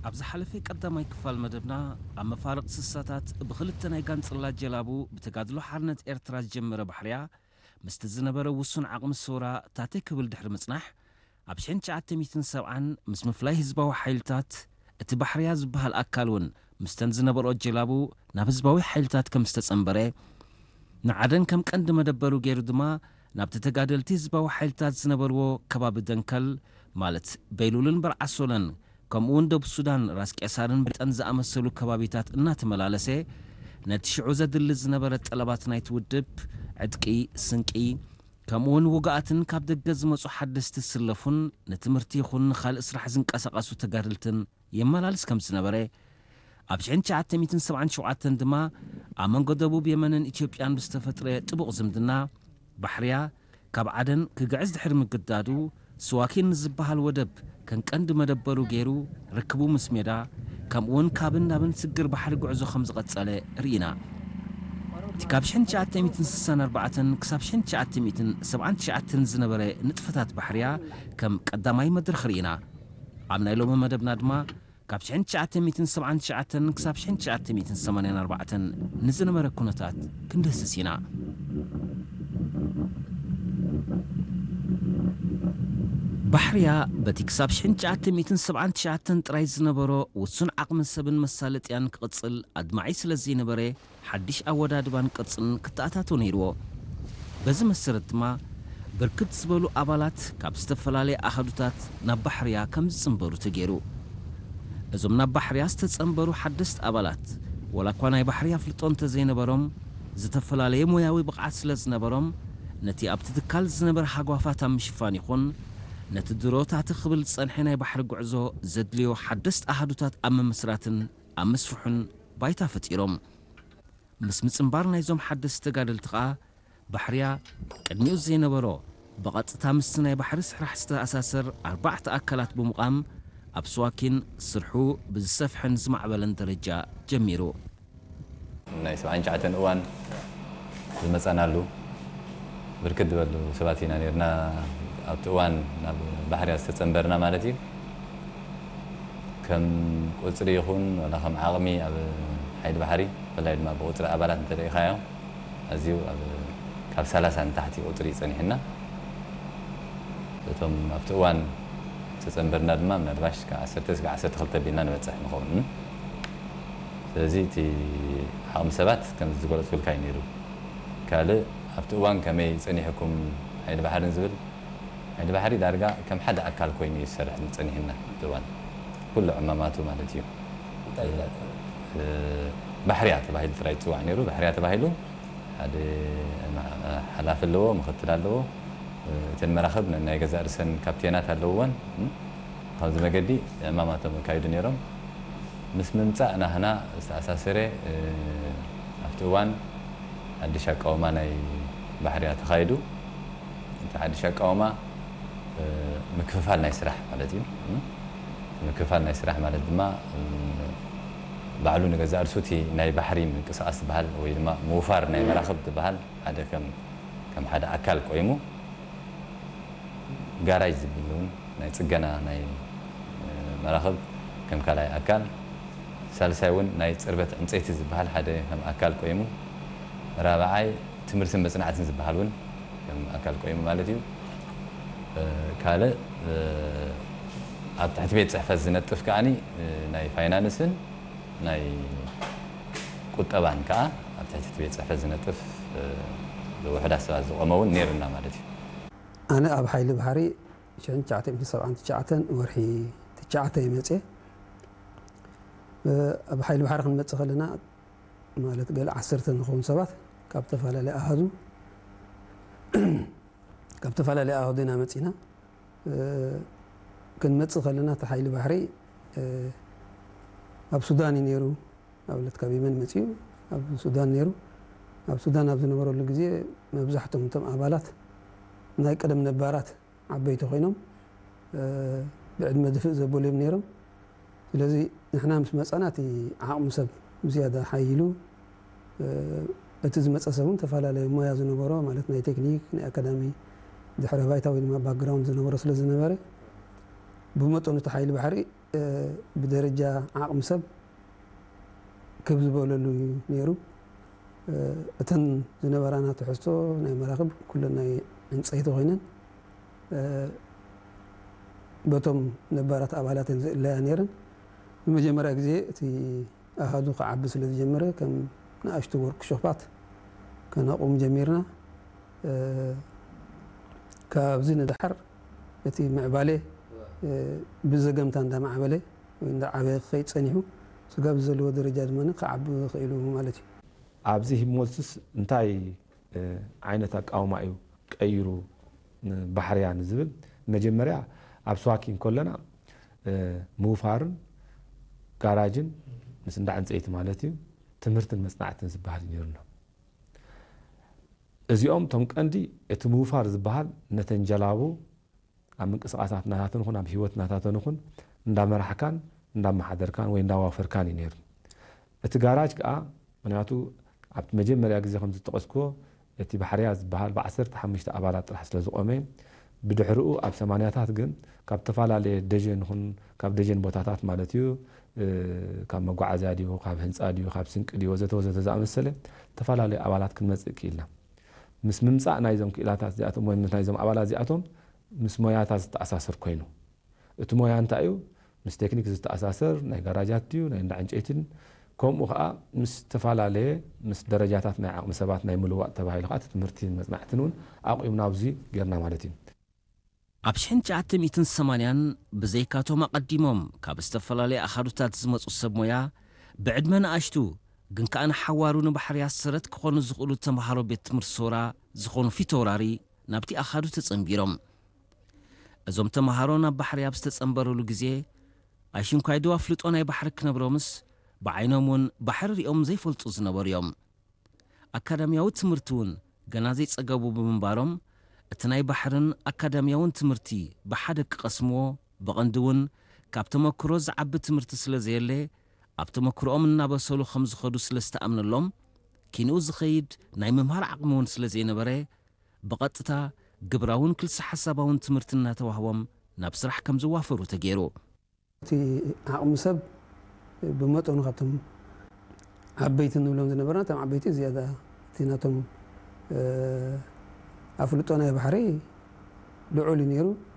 ኣብ ዝሓለፈ ቀዳማይ ክፋል መደብና፣ ኣብ መፋርቕ ስሳታት ብኽልተ ናይ ጋንጽላ ጀላቡ ብተጋድሎ ሓርነት ኤርትራ ዝጀመረ ባሕርያ፣ ምስቲ ዝነበረ ውሱን ዓቕሚ ሰውራ ታተ ክብል ድሕሪ ምጽናሕ፣ ኣብ ሽሕን ትሽዓተ ሚእትን ሰብዓን ምስ ምፍላይ ህዝባዊ ሓይልታት፣ እቲ ባሕርያ ዝበሃል ኣካል እውን ምስተን ዝነበርኦ ጀላቡ ናብ ህዝባዊ ሓይልታት ከም ዝተጸንበረ፣ ንዓደን ከም ቀንዲ መደበሩ ገይሩ ድማ ናብቲ ተጋደልቲ ህዝባዊ ሓይልታት ዝነበርዎ ከባቢ ደንከል፣ ማለት በይሉልን በርዓሶለን፣ ከምኡ እውን ደቡብ ሱዳን ራስ ቄሳርን በጠን ዝኣመሰሉ ከባቢታት እናተመላለሰ፣ ነቲ ሽዑ ዘድሊ ዝነበረ ጠለባት ናይቲ ውድብ፣ ዕጥቂ፣ ስንቂ፣ ከምኡ እውን ውግኣትን ካብ ደገ ዝመጹ ሓደስቲ ዝስለፉን ንትምህርቲ ይኹን ንኻልእ ስራሕ ዝንቀሳቐሱ ተጋደልትን የመላልስ ከም ዝነበረ፣ ኣብ ሽሕን ትሽዓተ ሚእትን ሰብዓን ሸውዓተን ድማ ኣብ መንጎ ደቡብ የመንን ኢትዮጵያን ብዝተፈጥረ ጥቡቕ ዝምድና፣ ባሕርያ ካብ ዓደን ክግዕዝ ድሕሪ ምግዳዱ፣ ስዋኪን ንዝበሃል ወደብ ከም ቀንዲ መደበሩ ገይሩ ርክቡ ምስ ሜዳ፣ ከምኡውን ካብን ናብን ስግር ባሕሪ ጉዕዞ ከም ዝቐጸለ ርኢና። እቲ ካብ ሽሕን ትሽዓተ ሚእትን ስሳን ኣርባዕተን ክሳብ ሽሕን ትሽዓተ ሚእትን ሰብዓን ትሽዓተን ዝነበረ ንጥፈታት ባሕርያ ከም ቀዳማይ መድረኽ ርኢና። ኣብ ናይ ሎሚ መደብና ድማ ካብ ሽሕን ትሽዓተ ሚእትን ሰብዓን ትሽዓተን ክሳብ ሽሕን ትሽዓተ ሚእትን ሰማንያን ኣርባዕተን ንዝነበረ ኩነታት ክንድህስስ ኢና። ባሕርያ በቲ ክሳብ ሽሕን ትሽዓተ ሚእትን ሰብዓን ትሽዓተን ጥራይ ዝነበሮ ውሱን ዓቕሚ ሰብን መሳለጥያን ክቕጽል ኣድማዒ ስለ ዘይነበረ፣ ሓድሽ ኣወዳድባን ቅርጽን ክተኣታቶ ነይርዎ። በዚ መሰረት ድማ፣ ብርክት ዝበሉ ኣባላት ካብ ዝተፈላለየ ኣሃዱታት ናብ ባሕርያ ከም ዝጽንበሩ ተገይሩ። እዞም ናብ ባሕርያ ዝተጸንበሩ ሓደስቲ ኣባላት፣ ዋላ እኳ ናይ ባሕሪ ኣፍልጦ እንተዘይነበሮም፣ ዝተፈላለየ ሞያዊ ብቕዓት ስለ ዝነበሮም፣ ነቲ ኣብቲ ትካል ዝነበረ ሃጓፋት ኣብ ምሽፋን ይኹን፣ ነቲ ድሮ ታተ ክብል ዝጸንሐ ናይ ባሕሪ ጉዕዞ ዘድልዮ ሓደስቲ ኣሃዱታት ኣብ ምምስራትን ኣብ ምስፍሑን ባይታ ፈጢሮም። ምስ ምጽንባር ናይዞም ሓደስቲ ተጋደልቲ ኸኣ፣ ባሕርያ ቅድሚኡ ዘይነበሮ፣ ብቐጥታ ምስቲ ናይ ባሕሪ ስራሕ ዝተኣሳሰር ኣርባዕተ ኣካላት ብምቋም፣ ኣብ ስዋኪን ስርሑ ብዝሰፍሐን ዝማዕበለን ደረጃ ጀሚሩ። ናይ ሰብዓን ትሽዓተን እዋን ዝመጸናሉ ብርክት ዝበሉ ሰባት ኢና ነርና፣ ኣብቲ እዋን ናብ ባሕርያ ዝተጸንበርና ማለት እዩ። ከም ቁጽሪ ይኹን ዋላ ከም ዓቕሚ ኣብ ሓይሊ ባሕሪ፣ ብፍላይ ድማ ብቁጽሪ ኣባላት እንተሪኢኻዮ፣ ኣዝዩ ኣብ፣ ካብ ሰላሳ ንታሕቲ ቁጽሪ እዩ ጸኒሕና። እቶም ኣብቲ እዋን ዝተጸንበርና ድማ ምናልባሽ ካብ ዓሰርተ እስከ ዓሰርተ ክልተ ቢልና ንበጽሕ ንኸውን። ስለዚ እቲ ዓቕሚ ሰባት ከም ዝገለጽኩልካ እዩ ነይሩ። ካልእ ኣብቲ እዋን ከመይ ጸኒሕኩም ሓይሊ ባሕርን ዝብል፣ ሓይሊ ባሕሪ ዳርጋ ከም ሓደ ኣካል ኮይኑ እዩ ዝሰርሕ ጸኒሕና ኣብቲ እዋን። ኩሉ ዕማማቱ ማለት እዩ። እንታይ እንታይ? እ፣ ባሕርያ ተባሂሉ ጥራይ ይጽዋዕ ነይሩ። ባሕርያ ተባሂሉ ሓደ ሓላፊ ኣለዎ፣ ምኽትል ኣለዎ። እተን መራኽብ ናይ ገዛእ ርእሰን ካፕቴናት ኣለውወን። ከምዚ መገዲ ዕማማቶም የካይዱ ነይሮም። ምስ ምምጻእ ናህና ዝተኣሳሰረ፣ እ፣ ኣብቲ እዋን ሓድሽ ኣቃውማ ናይ ባሕርያ ተኻይዱ። እቲ ሓድሽ ኣቃውማ፣ እ፣ ምክፍፋል ናይ ስራሕ ማለት እዩ። እ፣ ምክፍፋል ናይ ስራሕ ማለት ድማ፣ እ፣ ባዕሉ ንገዛእ ርእሱ እቲ ናይ ባሕሪ ምንቅስቓስ ዝበሃል ወይ ድማ ምውፋር ናይ መራኽብ ዝበሃል ሓደ ከም፣ ከም ሓደ ኣካል ቆይሙ፣ ጋራጅ ዝብል እውን ናይ ጽገና ናይ፣ እ፣ መራኽብ ከም ካልኣይ ኣካል፣ ሳልሳይ እውን ናይ ጽርበት ዕንጸይቲ ዝበሃል ሓደ ከም ኣካል ቆይሙ፣ ራብዓይ ትምህርትን መጽናዕትን ዝበሃል እውን ከም ኣካል ቆይሙ ማለት እዩ። እ፣ ካልእ፣ እ፣ ኣብ ትሕቲ ቤት ጽሕፈት ዝነጥፍ ከኣኒ፣ እ፣ ናይ ፋይናንስን ናይ ቁጠባን ከኣ ኣብ ትሕቲ እቲ ቤት ጽሕፈት ዝነጥፍ፣ እ፣ ውሑዳት ሰባት ዝቖመ እውን ነይሩና ማለት እዩ። ኣነ ኣብ ሓይሊ ባሕሪ ሽሕን ትሽዓተ ሚእትን ሰብዓን ትሽዓተን ወርሒ ትሽዓተ እየ መጽየ። እ፣ ኣብ ሓይሊ ባሕሪ ክንመጽእ ከለና፣ ማለት ገለ ዓሰርተ ንኸውን ሰባት ካብ ዝተፈላለየ ኣሃዱ፣ ካብ ዝተፈላለየ ኣሃዱ ኢና መጺና። እ፣ ክንመጽእ ከለና እቲ ሓይሊ ባሕሪ፣ እ፣ ኣብ ሱዳን እዩ ነይሩ። ንኣብነት ካብ የመን መጺኡ ኣብ ሱዳን ነይሩ። ኣብ ሱዳን ኣብ ዝነበረሉ ግዜ መብዛሕቶም እቶም ኣባላት ናይ ቀደም ነባራት ዓበይቲ ኮይኖም፣ እ፣ ብዕድመ ድፍእ ዘበሉ እዮም ነይሮም። ስለዚ ንሕና ምስ መጻና እቲ ዓቕሚ ሰብ ብዝያዳ ሓይሉ፣ እ፣ እቲ ዝመጸ ሰብ እውን ተፈላለየ ሞያ ዝነበሮ፣ ማለት ናይ ቴክኒክ፣ ናይ ኣካዳሚ ድሕረ ባይታ ወይ ድማ ባክግራውንድ ዝነበሮ ስለ ዝነበረ፣ ብመጠኑ እቲ ሓይሊ ባሕሪ ብደረጃ ዓቕሚ ሰብ ክብ ዝበለሉ እዩ ነይሩ። እተን ዝነበራና ትሕዝቶ ናይ መራኽብ ኩለን ናይ ዕንፀይቲ ኮይነን በቶም ነባራት ኣባላት ዝእለያ ነይረን። ንመጀመርያ ግዜ እቲ ኣሃዱ ክዓቢ ስለ ዝጀመረ ከም ንኣሽቱ ወርክሾፓት ከነቑም ጀሚርና። ካብዚ ንደሓር እቲ ምዕባለ ብዘገምታ እንዳማዕበለ ወይ እንዳዓበየ ክኸይድ ጸኒሑ፣ ስጋብ ዘለዎ ደረጃ ድማ ክዓቢ ክኢሉ ማለት እዩ። ኣብዚ ሂፕሞሲስ እንታይ ዓይነት ኣቃውማ እዩ ቀይሩ ንባሕርያ ንዝብል፣ መጀመርያ ኣብ ስዋኪ እንከለና ምውፋርን ጋራጅን ምስ እንዳ ዕንፀይቲ ማለት እዩ፣ ትምህርትን መፅናዕትን ዝበሃል እዩ ነይሩና። እዚኦም እቶም ቀንዲ፣ እቲ ምውፋር ዝበሃል ነተን ጀላቡ ኣብ ምንቅስቃሳት ናታተን ይኹን ኣብ ህይወት ናታተን ይኹን እንዳመራሕካን እንዳመሓደርካን ወይ እንዳዋፈርካን እዩ ነይሩ። እቲ ጋራጅ ከዓ ምክንያቱ ኣብቲ መጀመርያ ግዜ ከም ዝጠቐስክዎ እቲ ባሕርያ ዝበሃል ብዓሰርተ ሓሙሽተ ኣባላት ጥራሕ ስለ ዝቆመ ብድሕርኡ ኣብ ሰማንያታት ግን ካብ ዝተፈላለየ ደጀን ይኹን ካብ ደጀን ቦታታት ማለት እዩ ካብ መጓዓዝያ ድዩ ካብ ህንፃ ድዩ ካብ ስንቂ ድዩ ወዘተ ወዘተ ዝኣመሰለ ዝተፈላለዩ ኣባላት ክንመፅእ ክኢልና። ምስ ምምፃእ ናይዞም ክኢላታት እዚኣቶም ወይ ናይዞም ኣባላት እዚኣቶም ምስ ሞያታት ዝተኣሳሰር ኮይኑ እቲ ሞያ እንታይ እዩ? ምስ ቴክኒክ ዝተኣሳሰር ናይ ጋራጃት ድዩ ናይ እንዳ ዕንጨይትን ከምኡ ከዓ ምስ ዝተፈላለየ ምስ ደረጃታት ናይ ዓቕሚ ሰባት ናይ ምልዋጥ ተባሂሉ ከዓ እቲ ትምህርትን መፅናዕትን እውን ኣቑምና ኣብዚ ጌርና ማለት እዩ። ኣብ ሽሕን ትሽዓተ ሚእትን ሰማንያን ብዘይካቶም ኣቐዲሞም ካብ ዝተፈላለየ ኣኻዱታት ዝመፁ ሰብ ሞያ ብዕድመ ንኣሽቱ ግን ከዓ ንሓዋሩ ንባሕርያ ሰረት ክኾኑ ዝኽእሉ ተምሃሮ ቤት ትምህርቲ ሶራ ዝኾኑ ፊተውራሪ ናብቲ ኣኻዱ ተጸንቢሮም። እዞም ተምሃሮ ናብ ባሕሪ ኣብ ዝተጸንበሩሉ ግዜ ኣይሽንኳይ ድው ኣፍልጦ ናይ ባሕሪ ክነብሮምስ ብዓይኖም እውን ባሕሪ ሪኦም ዘይፈልጡ ዝነበሩ እዮም። ኣካዳምያዊ ትምህርቲ እውን ገና ዘይጸገቡ ብምንባሮም እቲ ናይ ባሕርን ኣካዳምያውን ትምህርቲ ብሓደ ክቐስምዎ ብቐንዲ እውን ካብ ተመክሮ ዝዓቢ ትምህርቲ ስለ ዘየለ ኣብ ተመክሮኦም እናበሰሉ ከም ዝኸዱ ስለ ዝተኣምነሎም ኪንኡ ዝኸይድ ናይ ምምሃር ዓቕሚ እውን ስለ ዘይነበረ ብቐጥታ ግብራውን ክልሰ ሓሳባውን ትምህርቲ እናተዋህቦም ናብ ስራሕ ከም ዝዋፈሩ ተገይሩ። እቲ ዓቕሚ ሰብ ብመጠኑ ካብቶም ዓበይቲ እንብሎም ዝነበርና እቶም ዓበይቲ ዝያዳ እቲ ናቶም ኣፍልጦ ናይ ባሕሪ ልዑል እዩ ነይሩ።